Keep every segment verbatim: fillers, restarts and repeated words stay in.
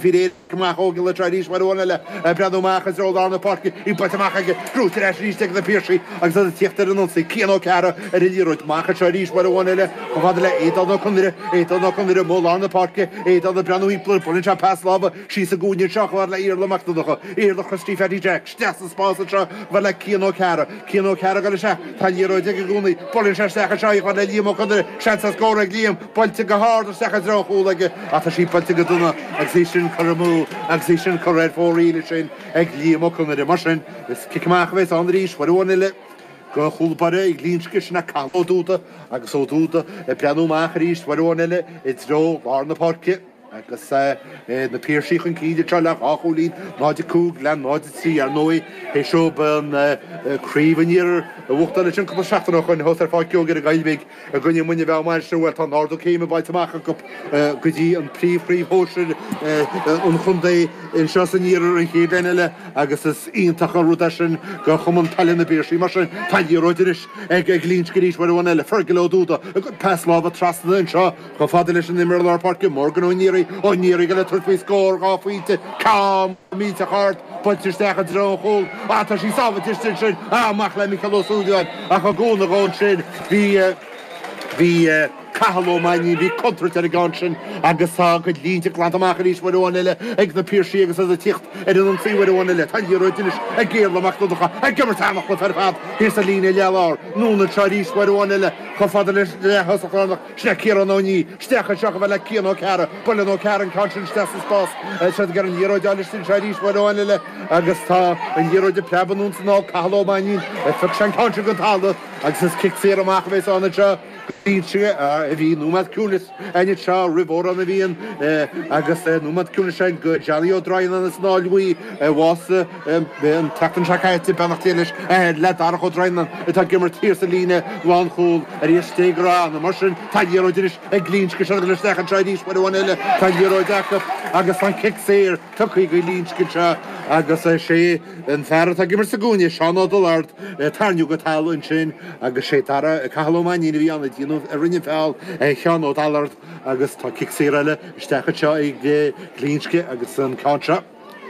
faoi réir amach óg le arís mar amháin eile breathnú amach is lár na páirce í buailte amach aige gnóthaithe ar ais arís ag na Piarsaigh agus ag tíocht ar an ionsaí Cian Ó Cearra ar an liathróid amach anseo arís mar amháin eile chomh fada le Aodán Ó Conaire Aodán Ó Conaire amuigh lár na páirce Aodán ag breathnú thimpeall buaileann sé pas láimhe síos i gcúinne anseo chomh fada le Iarla Mac Donncha Iarla Christy Fatty Jack isteach sa spás anseo chomh fada le Cian Ó Cearra Cian Ó Cearra ag dul isteach tá an liathróid aige i gcónaí buaileann sé isteach anseo chomh fada le Liam Ó Conaire seans ar scór ag Liam buailte go hard isteach i dtreo an chúil aige ach tá sí buailte go dona agus í sin curtha amú agus í sin curtha ar fóraoil sin ag Liam Ó Conaire mar sin is cic amach a bheas ann arís uair amháin eile go chúl báire ag Glinsce sin Cathal Ó Dúda agus Ó Dúda ag breathnú amach arís uair amháin eile i dtreo lár na páirce agus na Piarsaigh chun cinn anseo le dhá chúilín náid a cúig le náid a trí ar ndóigh é seo an craobh an iarthair a bhuachtáil leis an cúpla seachtain ó shin thuas ar Pháirc Geoghegan i Gaillimh i gcoinne Muine Mheá Mainistir bhuel tá an ardú céime bainte amach acu go dtí an príomhchraobh shóisir an chontae anseo san iarthar an chéad bhliain eile agus is iontach an rud é sin go chumann peile na bPiarsaigh mar sin tá liathróid anois ag ag Glinsce arís uair amháin eile Fergal Ó Dúda pas láimhe trasna anseo chomh fada leis an imreoir lár páirce Morgan Ó Néaraí Ó Néaraí le tabhairt faoi scór dhá phointe ceann millteach ard buailte isteach i dtreo an chúil á tá sí sábháilte sin amach le Micheál Ó Súilleabháin ach a gcúnamh ón sin bhí bhí Cathal Ó Mainnín bhí contúirt ar an gceann sin agus tá cuid línte glanta amach arís uair amháin eile ag na Piarsaigh agus ag tíocht ar an ionsaí uair amháin eile tá liathróid anois ag Iarla Mac Donncha ag imirt an-chluiche ar fad thíos sa líne leathlár anonn anseo arís uair amháin eile chomh fada leis le thosach lárnach sin Ciarán Ó Ní isteach anseo go bhfuil le Cian Ó Cearra buaileann Ó Cearra an ceann sin isteach sa spás se gur an liathróid sin arís uair amháin eile agus tá an liathróid ag preabadh anonn is anall Cathal Ó Mainnín phioc sé an ceann sin den talamh agus is cic saor amach a bheas ann anseo a bhí nóiméad ciúnais anseo roimh Amhrán na bhFiann agus nóiméad ciúnais sin go Johnny Ó Droighneáin as an Áill Bhuí a bhásaigh an tseachtain seo caite beannacht Dé leis le Darach Ó Droighneáin atá ag imirt thiar sa líne lánchúl ar éis dé go rath mar sin tá liathróid anois ag Glinsce seo isteach anseo arís uair amháin eile tá liathróid acu agus an cic saor tugtha go Glinsce anseo agus sé an fear atá ag imirt sa gcúinne Seán Ó Dullard tarraingthe go talamh ansin agus sé Dara Cathal Ó Mainnín a bhí ann a rinne feall Sheán Ó Dallard agus tá cic saor eile isteach anseo ag Glinsce agus an ceann seo.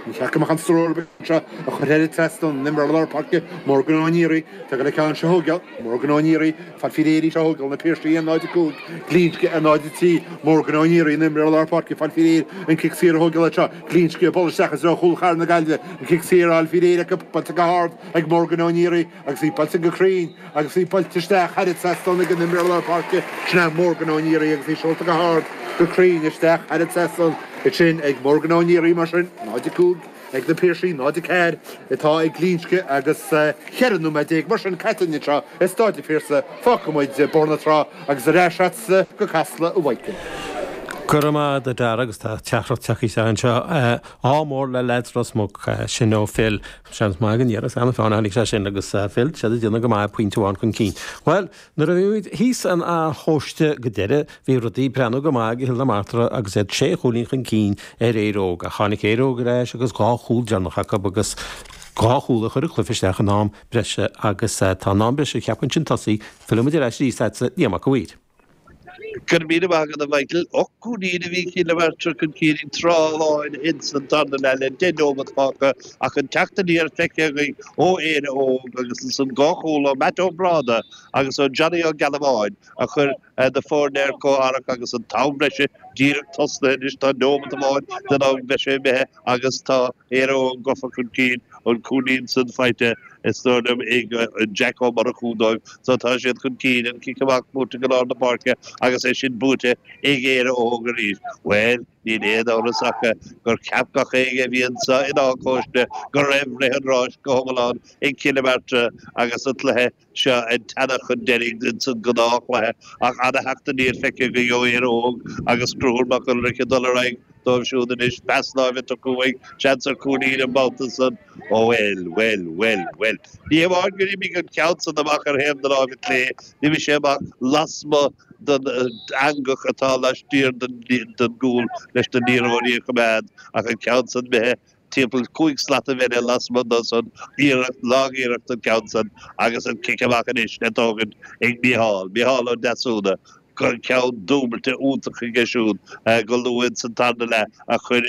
Ní cheapaim an stró seo a chur ar trasna imreoir lár páirce Morgan Ó Néaraí Tá le ceann seo thógáil Morgan Ó Néaraí fad fi réirí seo thógáil na Piarsaigh an náid cúig Glinsce ar náid trí Morgan Ó Néaraí an imreoir lár páirce fad fi réir an cic saor a thógáil seo Glinsce buailte isteach is chúl Chathair na Gaillimhe an cic saor al fi réir acu buailte go hard ag Morgan Ó Néaraí agus í buailte go cruinn agus í buailte isteach thar an trasnán ag an imreoir lár páirce sin Morgan Ó Néaraí agus í seolta go hard go cruinn isteach thar an trasnán sin ag Morgan Ó Néaraí mar sin náid cúig ag na Piarsaigh náid ceathair atá ag Glinsce agus ceithre nóiméad déag mar sin caite anseo i Staid an Phiarsaigh fágfaimid Bóthar na Trá agus ar ais go Casla a Mhichael. Go raibh maith agat agus tá teachtaireacht tagtha anseo ádh mór le leaids Ros Muc sin ó Phil seans maith an iarras anna fána tháinig sé sin agus Phil sé déanamh go maith pointe amháin chun cinn. Well, nuair a bhí thíos an chóiste go deireadh bhí rudaí ag breathnú go maith go Chill na Martra agus iad sé chúilín chun cinn ar Éire Óg a tháinig Éire Óg ar ais agus dhá chúl déanach acu agus dhá chúl a chur cluiche isteach in am breise agus tá an am breise ceapann sin tosaí fillfimid ar ais arís Liam Mac Uidhir. Gur mí agad a Michael ochúní a bhí cí le chun cíí trááin insan darna le le deich nóiméad fágtha ach an teacht aniar feicthe ó Éire Óg agus san dhá chúl ó Matt Ó Bráda agus ó Johnny Ó Galabháin a chur na foirne ar comhtharrac agus an t-am breise díreach tosaithe anois tá nóiméad amháin den am breise imithe agus tá Éire Óg gafa chun cinn an cúilín san faighte is dóigh ag Jack Ó Murchú dóibh so tá siad chun cinn an cic amach buaite go lár na páirce agus é sin buaite ag Éire Óg arís. Well, níl aon amhras ach gur cheap gach éinne a bhí anseo in Áth Cóiste go raibh rith an ráis go hiomlán ag Cill na Martra agus an cluiche seo ag teannadh chun deiridh san gnáthchluiche ach an-theacht aniar feicthe go Éire Óg agus Conchúr Mac Ulrich dul ar aghaidh dóibh siúd anois pas láimhe chuig seans ar chúilín an babhta san ó well well well well. Ní amháin gur imigh an ceann san amach ar thaobh na láimhe clé, d'imigh sé amach lasmuigh den eangach atá laistiar den gcúl leis na liathróidí a choimeád ach an ceann san imithe timpeall cúig slat a bheith lasmuigh do san iarracht lagiarracht an ceann san agus an cic amach anois le tógaint ag Micheál, Micheál Ó Deasúna ceann dúbailte iontach aige siúd go luath san tarna leath a chur